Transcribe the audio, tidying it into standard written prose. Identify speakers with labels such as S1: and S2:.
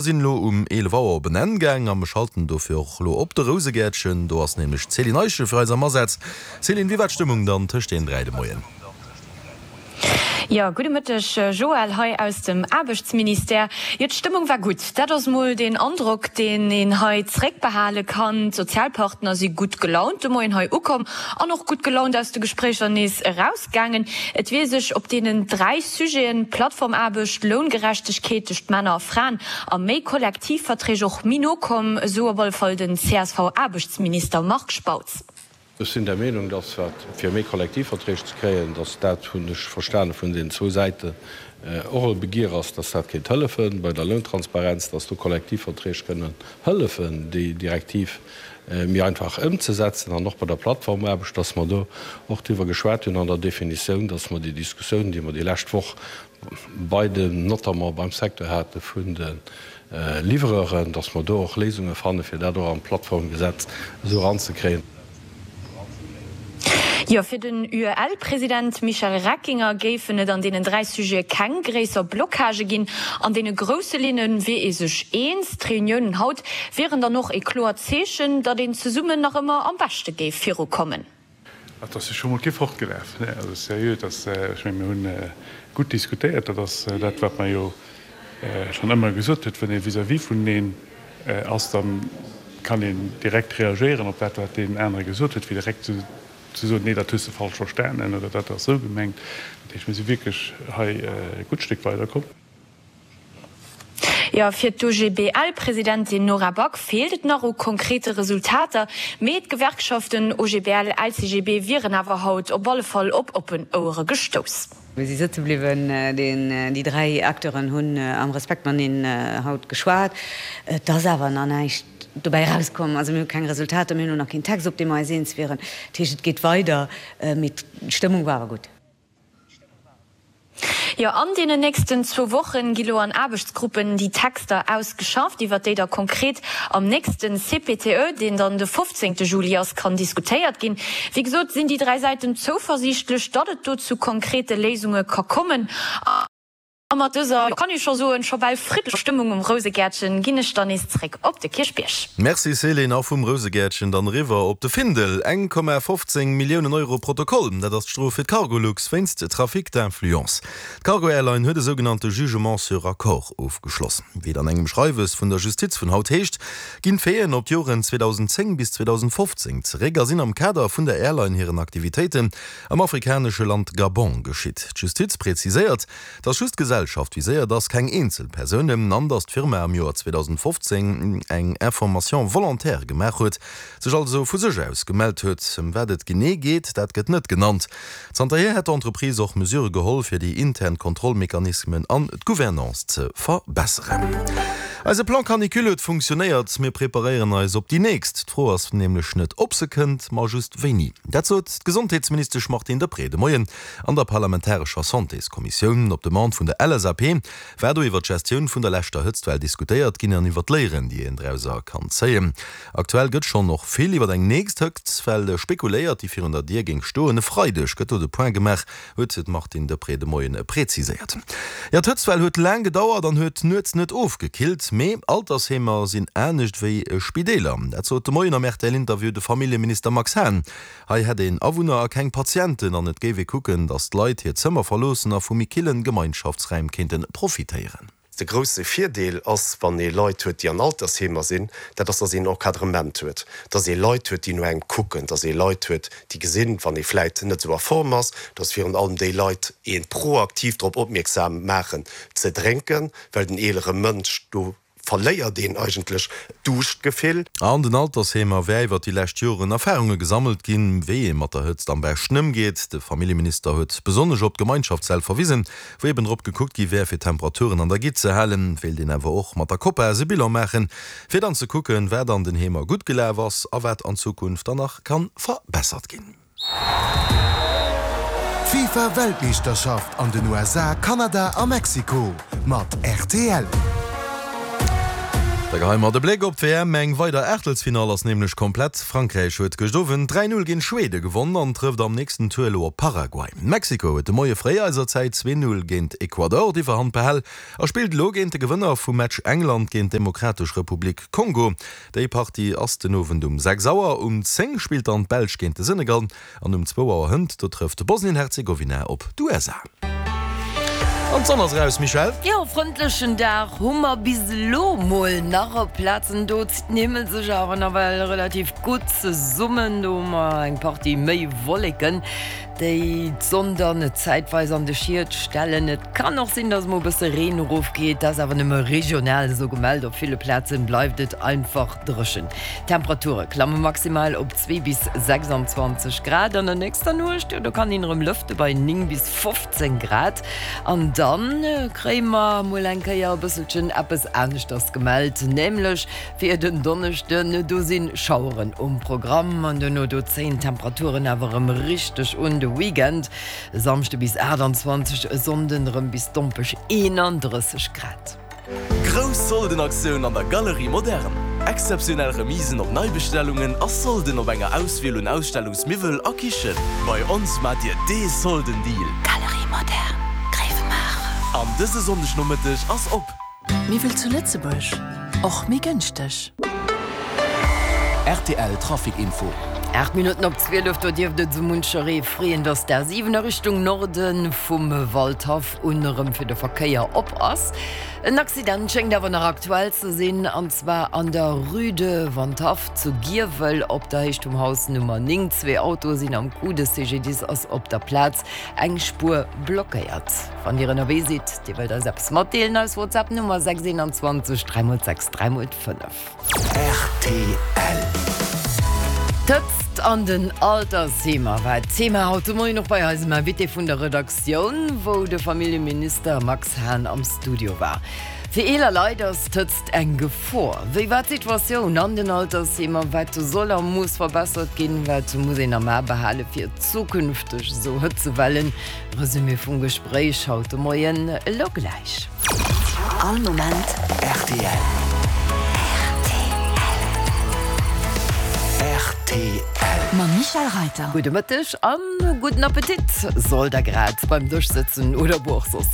S1: Sinn elo um 11 Auer op en Enn gaang a mir schalten dofir och elo op de Rousegäertchen. Do ass nämlech d'Céline Eischen fir eis am Asaz. Céline, wéi war d'Stëmmung dann tëscht den 3 de Moien?
S2: Jo, gudde Mëtteg Joël, hei aus dem Aarbechtsministère. Jo, d'Stëmmung war gutt. Dat ass mol deen Androck, deen een hei zréckbehale kann. D'Sozialpartner si gutt gelaunt de Moien hei ukomm an och gutt gelaunt aus de Gespréicher nees erausgaangen. Et wier sech op deenen 3 Sujeten, Plattformaarbecht, Loungerechtegkeet tëscht Männer a Fraen a méi Kollektivverträg och méi no komm, esou op alle Fall den CSV-Aarbechtsminister Marc Spautz.
S3: Ech sinn der Meenung, dass wat, fir méi Kollektivverträg ze kréien, dass dat, hunn ech verstane vun deenen zwou Säiten, och e Begier ass, dass dat kéint hëllefen bei der Lountransparenz, dass do Kollektivverträg kënnen hëllefen, déi Direktiv méi einfach ëmzesetzen an och bei der Plattformaarbecht, dass mer do och driwwer geschwat hunn an der Definitioun, dass mer déi Diskussioun, déi mer déi lescht Woch bei den, notamment beim Secteur hate vun de Livreuren, dass mer do och Léisunge fanne fir dat och an d'Plattformgesetz esou eranzekréien.
S2: Jo, fir den UEL-President Michel Reckinger géifen et an deenen 3 Sujete keng gréisser Blockagë ginn. An deene grousse Linne wier ee sech eens. D'Reuniounen haut wieren dann och ee kloert Zeechen, datt een zesummen nach ëmmer am beschte géif virukommen.
S4: Et ass jo scho mol kee fortgelaf. Also seriö, et ass, ech mengen, mir hunn gutt diskutéiert. Dat ass dat, wat mer jo schonn ëmmer gesot huet, Wann ee vis-à-vis vuneneen ass, da kann een direkt reagéieren op dat, wat deen anere gesot huet, wéi direkt ze soen, Nee, dat hues de falsch verstanen oder dat ass esou gemengt. Dat heescht, mir si wierklech hei e gutt Stéck weiderkomm.
S2: Jo, fir d'OGBL-Presidentin Nora Back feelt et nach u konkrete Resultater, mee d'Gewerkschaften OGBL, LCGB wieren awer haut op alle Fall op oppen Ouere gestouss.
S5: Mir si sëtze bliwwen. Déi 3 Acteuren hunn am Respekt mateneen haut geschwat. Et ass awer nach näischt dobäi erauskomm. Also mir hu keng Resultater, mir hunn och nach keen Text, op dee mer eis eens wieren. Dat heescht, et geet weider, mee d'Stëmmung war awer gutt.
S2: Jo, an deenen nächsten zwou Wochen gi lo an Aarbechtsgruppen déi Texter ausgeschafft, iwwert déi da konkret am nächsten CPTE, deen dann de 15 Juli ass, kann diskutéiert ginn. Wéi gesot sinn déi 3 Säiten zouversiichtlech, datt et do zu konkrete Léisunge ka kommen. A mat dëser, kann ee scho soen, scho bal friddlecher Stëmmung um Rousegäertchen ginn ech dann nees zréck op de Kierchbierg.
S1: Merci Céline, a vum Rousegäertchen dann eriwwer op de Findel. 1,15 Milliounen Euro Protokoll, dat ass d'Strof fir d'Cargolux wéinst Trafic d'influence. D'Cargo-Airline huet e sougenannte Jugement sur accord ofgeschloss. Wéi et an engem Schreiwes vun der Justiz vun haut heescht, ginn d'Faiten op d'Joren 2010 bis 2015 zeréck a sinn am Kader vun der Airline hiren Aktivitéiten am afrikanesche Land Gabon geschitt. D'Justiz präziséiert, dass just d'Gesellschaft viséiert ass, keng eenzel Persounen, an dass d'Firma am Joer 2015 eng Information volontaire gemaach huet, sech also vu sech aus gemellt huet. Ëm wat et genee geet, dat gëtt net genannt. Zanterhier hätt d'Entreprise och Mesure geholl, fir déi intern Kontrollmechanismen an d'Gouvernance ze verbesseren. Eise Plan Canicule huet funktionéiert, mir preparéieren eis op déi nächst. D'Fro ass nämlech net, ob se kënnt, ma just wéini. Dat sot d'Gesondheetsministesch Martine Deprez de Moien an der parlamentarescher Santéskommissioun. Op Demande vun der LSAP war do iwwer d'Gestioun vun der leschter Hëtztwell diskutéiert ginn an iwwer d'Léieren, déi een drauser kann zéien. Aktuell gëtt schonn och vill iwwer eng nächst Hëtztwell spekuléiert, déi virun der Dier géing stoen. E Freideg gëtt do de Point gemaach, huet d'Martine Deprez de Moien preziséiert. Jo, d'Hëtztwell huet laang gedauert an huet nuets net ofgekillt. Mee Altersheemer sinn anescht wéi Spideeler. Dat sot de Moien am RTL-Interview de Familljeminister Max Hahn. Hei hätt een Awunner a keng Patienten an et géif ee kucken, datt d'Leit hir Zëmmer verloossen a vu méi killen Gemeinschaftsräim kéinte profitéieren.
S6: De grousse Virdeel ass, wann ee Leit huet, déi an Altersheemer sinn, dat ass, datt een Encadrement huet, datt ee Leit huet, déi no engem kucken, datt ee Leit huet, déi gesinn, wann ee vläit net esou a Form ass, datt virun allem déi Leit ee proaktiv drop opmierksam maachen ze drénken, well den eelere Mënsch do verléiert een eigentlech d'Duuschtgefill.
S1: An den Altersheemer wär iwwer déi lescht Joren Erfarunge gesammelt ginn, wéi ee mat der Hëtzt am beschten ëmgeet. De Familljeminister huet besonnesch op d'Gemeinschaftssäll verwisen, wou eben drop gekuckt gi wär, fir d'Temperaturen an der Gitt ze halen. Wéilt een awer och mat der Copas e Bilan maachen, fir dann ze kucken, wat an den Heemer gutt gelaf ass a wat an Zukunft dann nach kann verbessert ginn.
S7: D'FIFA Weltmeeschterschaft an den USA, Kanada a Mexiko mat rtl.
S1: Da geheie mer de Bléck op d'WM. Eng weider Aachtelsfinall ass nämlech komplett. Frankräich huet gëscht Owend 3, 0 géint Schwede gewonn an trëfft am nächsten Tour elo op Paraguay. Mexiko huet de Moie fréi eiser Zäit 2, 0 géint Ecuador d'Iwwerhand behal a spillt elo géint de Gewënner vum Match England géint d'Demokratesch Republik Kongo. Déi Partie ass den Owend um 6 Auer. Um 10 spillt dann d'Belsch géint de Senegal. An um zwou Auer hënt, do trëfft Bosnien-Herzegowina op d'USA. An d'Sonn ass eraus, Michèle.
S8: Jo, frëndlechen Dag hu mer bis elo mol nach op Plazen. Do zitt den Himmel sech awer nawell relativ gutt zesummen. Do hu mer eng Partie méi Wolleken, déi d'Sonn dann zäitweis an de Schiet stellen. Et kann och sinn, dass mol e bësse Reen erofgeet, dat ass awer nëmme regional esou gemellt. Op ville Plazen bleift et einfach dréchen. D'Temperature klamme maximal op 2 bis 26 Grad. An der nächster Nuecht, jo do kann een erëm lëfte bei 9 bis 15 Grad. An dann kréie mer mol eng Kéier e bësselchen eppes aneschters gemellt, nämlech fir den Donneschden. Do si Schaueren um Programm an duerno do zéien d'Temperaturen awer erëm richteg un. De Weekend, e Samschde bis 28, e Sonnden erëm bis dompeg 31 Grad.
S9: Grouss Soldenaktioun an der Galerie Moderne! Exzeptionell Remisen op Neibestellungen a Solden op enger Auswiel un Ausstellungsmiwwel a Kichen. Bei ons maacht Dir dee Soldendeal!
S10: Galerie Moderne, Gréiwemaacher.
S9: An dëse Sonndegnomëtteg ass op!
S10: Miwwel zu Lëtzebuerg, och méi gënschteg.
S9: Rtl Trafic Info.
S8: 8 Minutten op 12, do dierft et esou muncheree freeën, dass d'A7 a Richtung Norde vum Waldhaff un erëm fir de Verkéier op ass. En Accident schéngt awer nach aktuell ze sinn, an zwar an der Rue de Wandhaff zu Giewel op der Héicht vum Haus Nummer 9. Zwee Autoe sinn am Coup, de CGDIS ass op der Plaz, eng Spuer blockéiert. Wann Dir ënnerwee sidd, Dir wëllt eis eppes matdeelen, eis WhatsApp Nummer 6 21 3 x 6 3 x 5.
S9: Rtl.
S8: D'Hëtzt an den Altersheemer war d'Thema haut de Moien och bei eisem Invité vun der Redaktioun, wou de Familljeminister Max Hahn am Studio war. Fir eeler Leit ass d'Hëtzt eng Gefor. Wéi war d'Situatioun an den Altersheemer? Wat soll a muss verbessert ginn? Wat muss een am A behale fir zukünfteg esou Hëtzewellen? Resumé vum Gespréich haut de Moien elo gläich.
S10: All Moment
S9: rtl. Rtl.
S10: Mam Michèle Reiter.
S8: Gudde Mëtteg an gudden Appetit. Sollt der grad beim Dësch sëtzen oder wou och soss.